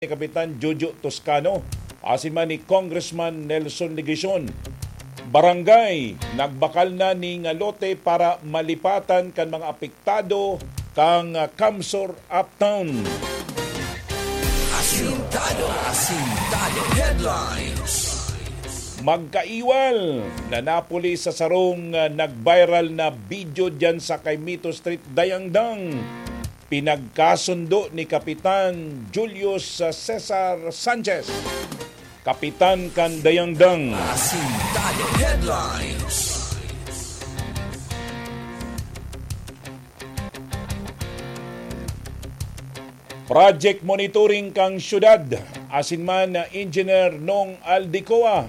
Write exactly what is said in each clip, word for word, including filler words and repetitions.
ni Kapitan Jojo Toscano, asin man ni Congressman Nelson Legacion. Barangay, nagbakal na ning lote para malipatan kan mga apektado kan, ah, CamSur Uptown. Asintado, Asintado Headlines. Magkaiwal na napuli sa sarong, ah, nag-viral na video diyan sa Caimito Street, Dayangdang. Pinagkasundo ni Kapitan Julius, ah, Cesar Sanchez, kapitan kan Dayangdang. Asintado Headlines. Project monitoring kan syudad, asin man na Engineer Nong Aldecoa,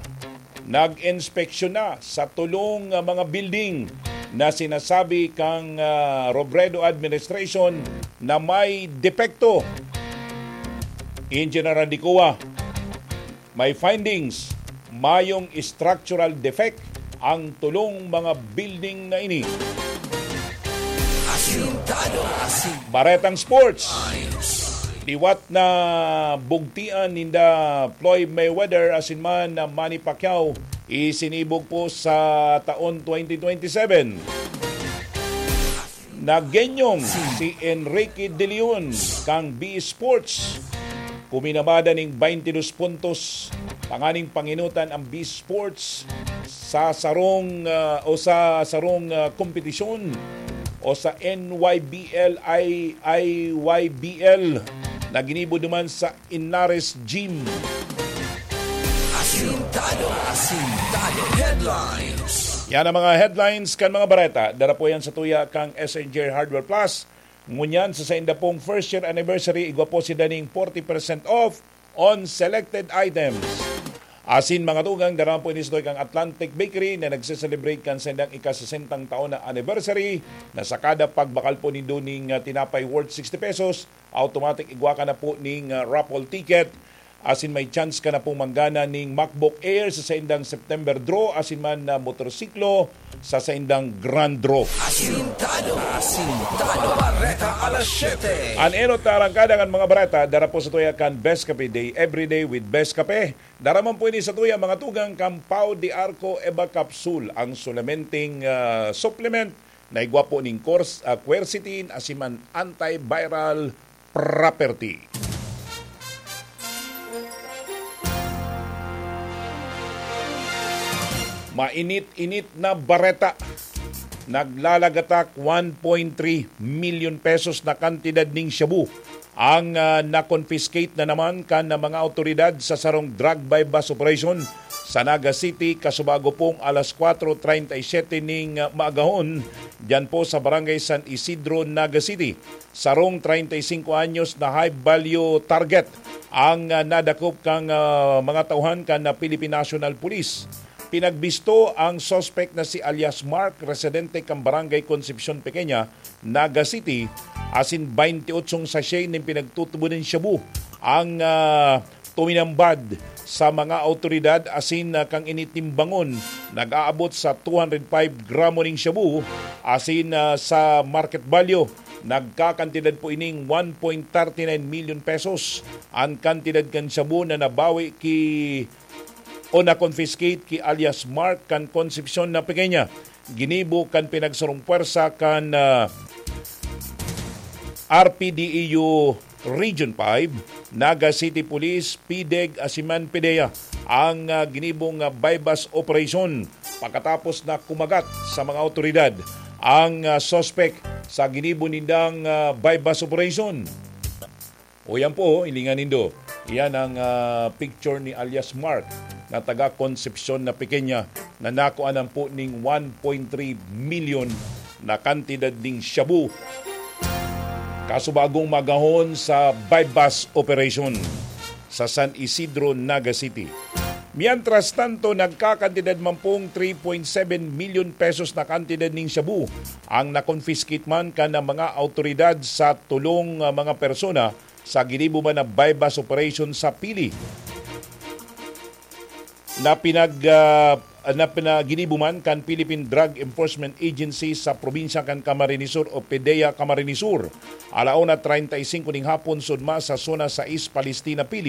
nag-inspeksyon na sa tolong, ah, mga building na sinasabi kan, ah, Robredo administration na may depekto. Engineer Aldecoa, may findings, mayong structural defect ang tolong mga building na ini. Asintado, Asin. Baretang sports. Liwat na bugtian ninda Floyd Mayweather asin man na Manny Pacquiao isinibog po sa taon twenty twenty-seven. Nagenyong si Enrique De Leon kan B Sports. Kuminabada ning twenty-dos puntos tanganing panginutan ang B Sports sa sarong, ah, o sa sarong, ah, kompetisyon o sa N Y B L I I Y B L na ginibo duman sa Inares Gym. Asintado, Asintado Headlines. Yan ang mga headlines kan mga bareta. Dara po yan sa tuya kang S N J Hardware Plus. Ngunyan, sa sainda pong first year anniversary, igwa po sinda ning forty percent off on selected items. Asin mga tugang, dara po ini sa tuya kang Atlantic Bakery na nagse-celebrate kan saindang ika-sesentang taon na anniversary, na sa kada pagbakal po nindo ning, ah, tinapay worth sixty pesos, automatic igwa ka na po ning, ah, raffle ticket. Asin may chance ka na pong manggana ning MacBook Air sa saindang September draw, asin man na motorsiklo sa saindang grand draw. Asintado, Asintado, Bareta alas siyete. An enot na arangkada kan mga bareta, dara po sa tuya kan Best Cafe Day, every day with Best Cafe. Dara man po ini sa tuya, mga tugang, kan Pau de Arco Eva Capsule, ang sulamenteng, ah, supplement na igwa po ning quers-, ah, quercetin asin man antiviral property. Mainit-init na bareta. Naglalagatak one point three milyon pesos na kantidad ning shabu ang, ah, na-confiscate na naman kan mga awtoridad sa sarong drug buy-bust operation sa Naga City, kasubago pong alas kwatro treinta y siete ning, ah, maagahon, diyan po sa Barangay San Isidro, Naga City. Sarong treinta y cinco anyos na high value target ang, ah, nadakop kan, ah, mga tauhan kan, ah, Philippine National Police. Pinagbisto ang suspect na si alias Mark, residente kan Barangay Concepcion Pequeña, Naga City, asin twenty-eight sachet nin pinagtutubo nin shabu ang, ah, tuminambad sa mga awtoridad asin, ah, kan initimbangon, nag-aabot sa two hundred five gramo nin shabu asin, ah, sa market value, nagkakantidad po ining one point thirty nine million pesos an kantidad kan shabu na nabawi ki o na-confiscate ki alias Mark kan Concepcion na Pequeña. Ginibo kan pinagsarong pwersa kan, ah, R P D E U Region five, Naga City Police, PDEG, asin man PDEA ang, ah, ginibong, ah, buy-bust operation. Pagkatapos na kumagat sa mga awtoridad ang, ah, suspek sa ginibo nindang, ah, buy-bust operation. O yan po, hilingan nindo. Iyan ang, ah, picture ni alias Mark na taga Concepcion na Pequeña na nakuanan po ning one point three milyon na kantidad ning shabu. Kasubagong magahon sa buy-bust operation sa San Isidro, Naga City. Mientras tanto, nagkakantidad man pong three point seven million pesos na kantidad ning shabu ang na-confiscate man kan mga awtoridad sa tolong, ah, mga persona sa ginibo man na buy-bust operation sa Pili na pinag, ah, na pina-, ginibo man kan Philippine Drug Enforcement Agency sa probinsya kan Camarines Sur o PDEA Camarines Sur. Ala una treinta y cinco ning hapon, sudma sa Zona sais Palestina, Pili.